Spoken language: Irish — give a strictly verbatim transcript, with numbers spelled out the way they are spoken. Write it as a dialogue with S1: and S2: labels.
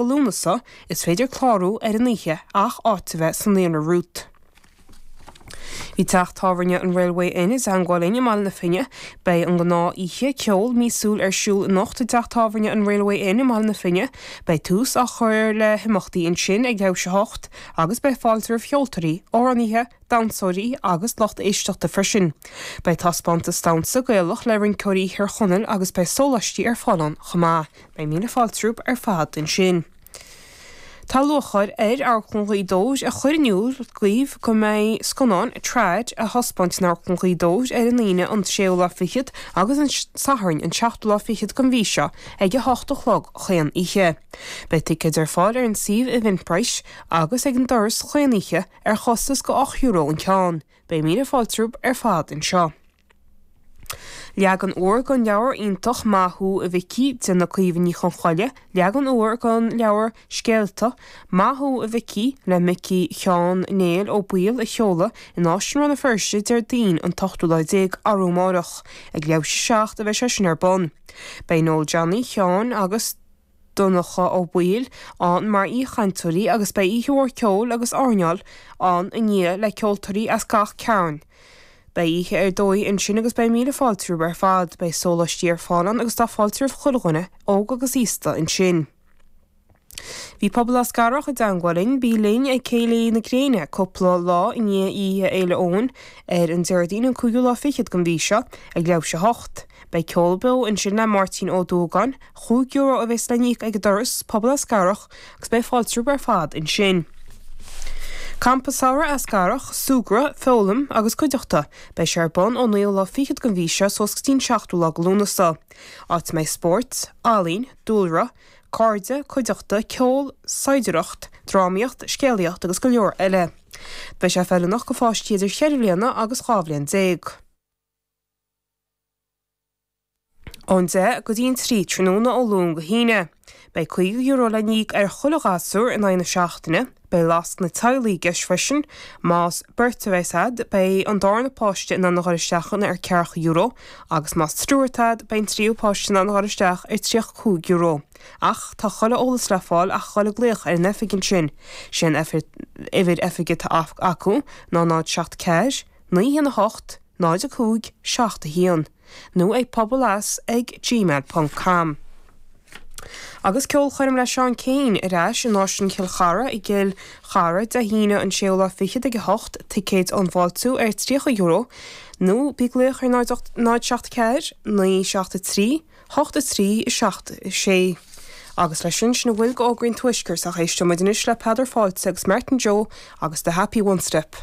S1: Lúnasa is féidir clárú ar an oíche ach áit a bheith san líonra romhat. Bhí teach tábhairne an Railway Inn i dteagmháil linn i mBaile na Finne. Beidh an ghnáth-oíche ceoil míosúil ar siúl anocht i dteach tábhairne an Railway Inn i mBaile na Finne. Beidh tús á chur le himeachtaí ansin ag leathuair théis a hocht agus beidh fáilte roimh cheoltóirí, amhránaithe, damhsóirí agus lucht éisteachta freisin. Beidh taispeántas damhsa Gaelach le rinceoirí Thír Chonaill agus beidh sóláistí ar fáil ann chomh maith. Beidh míle fáilte romhaibh ar fad ansin. Tá lúcháir ar Amharclann Ghaoth Dobhair a chur in iúl daoibh go mbeidh scannán Trad á thaispeáint in Amharclann Ghaoth Dobhair ar an Aoine an séú lá fichead agus an Satharn an seachtú lá fichead den mhí seo ag a hocht a chlog chaon oíche. Beidh ticéid ar fáil ar an suíomh Eventbrite agus ag an doras chaon oíche ar chostas go ocht euro an ceann. Beidh míle fáilte romhaibh ar fad anseo. Leagan úr den leabhar iontach Maith Thú a Mhicí de Caoimhe Ní Chonchoille, leagan úr den leabhar scéalta Maith Thú a Mhicí le Micí Sheáin Néill Ó Baoill a sheoladh in Áislann Rann na Feirste Déardaoin an t-ochtú lá déag arú amárach. Ag leathuair théis a seacht a bheidh sé sin ar bun. Beidh Noel Johnny Sheáin agus Donncha Ó Baoill ann mar aoichainteoirí agus beidh oíche mhór ceoil agus airneáil ann i ndiaidh le ceoltóirí as gach cearn. Beidh oíche ar dóigh ansin agus beidh míle fáilte romhaibh ar fad, beidh sóláistí ar fáil ann agus tá fáilte roimh chuile dhuine, óg agus aosta ansin. Bhí pobal Eascarrach i dteagmháil linn, bí linn ag Céilí na Gréine cúpla lá i ndiaidh Oíche Fhéile Eoin ar an Déardaoin an cúigiú lá fichead den mhí seo ag leathuair théis a hocht. Beidh ceol beo ansin le Máirtín Ó Dúgáin, chúig euro a bheas le n-íoc ag an doras, pobal Eascarrach, agus beidh fáilte romhaibh ar fad ansin. Campa Samhraidh Eascarrach, súgradh, foghlaim agus cuideachta. Beidh sé ar bun ón naoú lá fichead den mhí seo suas go dtí an seachtú lá de Lúnasa. Áit a mbeidh spórt, ealaín, dúlra, cairde, cuideachta, ceol, saighdiúireacht, drámaíocht, scéalaíocht agus go leor eile. Beidh sé feiliúnach do pháistí idir cheithre bhliana agus dhá bhliain déag. Ón deich go dtí an trí tráthnóna ó Luan go hAoine. Beidh caoga euro le n-íoc ar chuile ghasúr in aghaidh na seachtaine. Beidh lasc na teaghlaigh i gceist freisin. Más beirt a bheas a'd, beidh an darna páiste in ann a dhul isteach ar ceathracha euro agus más triúr atá a'd, beidh an tríú páiste in ann a dhul isteach ar tríocha cúig euro. Ach tá chuile eolas le fáil ach dhul ag glaoch ar an oifig ansin. Sé an uimhir oifige atá acu ná náid seacht ceathair, naoi haon a hocht, náid a cúig, seacht a haon. Nó ag pobalas ag gmail ponc com. Agus ceolchoirm le Seán Keane ar ais in Áislann Chill Chartha i gCill Chartha Dé hAoine an séú lá fichead ag a hocht, ticéid ón bhfáiltiú ar tríocha euro nó bí ag glaoch ar náid ocht náid seacht ceathair, naoi seacht a trí, hocht a trí, seacht a sé. Agus leis sin, sin a bhfuil d'fhógraí an Tuaiscirt ach éisteoidh muid anois le Peadar Fáilte agus Martin Joe agus The Happy One Step.